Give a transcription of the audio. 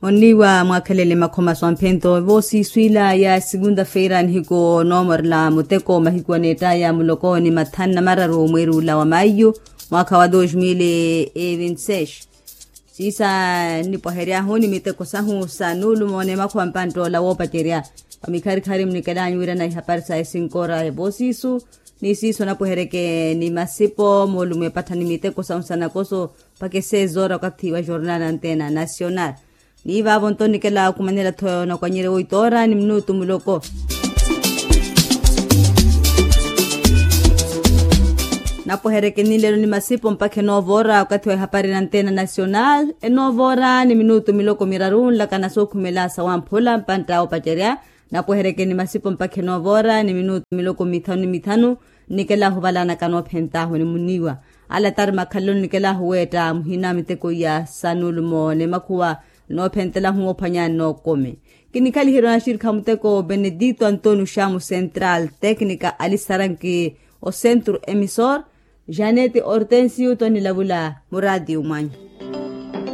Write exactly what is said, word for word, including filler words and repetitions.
Onniiwa mwaakhelele makhoma swamphento voosiiswiila ya segunda-feira nihiku noomorela muteko mahiku aneettaya muloko ni mathanu na mararu mweeri ula wa maiyu mwaakha wa dos mil e vinte seis. Siisa nnipwahery'ahu ni miteko sahu sa nuulumo n'emakhuwa mpantt'ola woopacerya. Wa mikharikhari munikelanyu wirana ihapari sa esinkora ya voosiisu ni siiso napweheryeke ni masipo moolumo epattha ni miteko sahu sa nakoso mpakha esezoora okathi wa jornal anteena nasional. Ni vaavo nto nikela khumanela-tho nakwanyerya woitoora ni minutu muloko. Napweheryeke nilelo ni masipo mpakha enoovoora okathi wa ihapari nanteena nasional enoovoora ni minutu miloko miraru nlakana sookhumela sawamphula mpantta oopacerya. Napweheryeke ni masipo mpakha enoovoora ni minutu miloko mithanu ni mithanu. Nnikela ahuvalanaka noophentaahu ni muniiwa ala tari makhalelo nnikela ahuweetta muhina miteko iya sa nuulumo n'emakhuwa noophentelahu moophwanya n'okumi. Kinikhaliherya naxirikha muteko benedito antonio xamu central técnica alisaranki osentro emisor janete hortensio tonilavula muraatiyo mwanyu.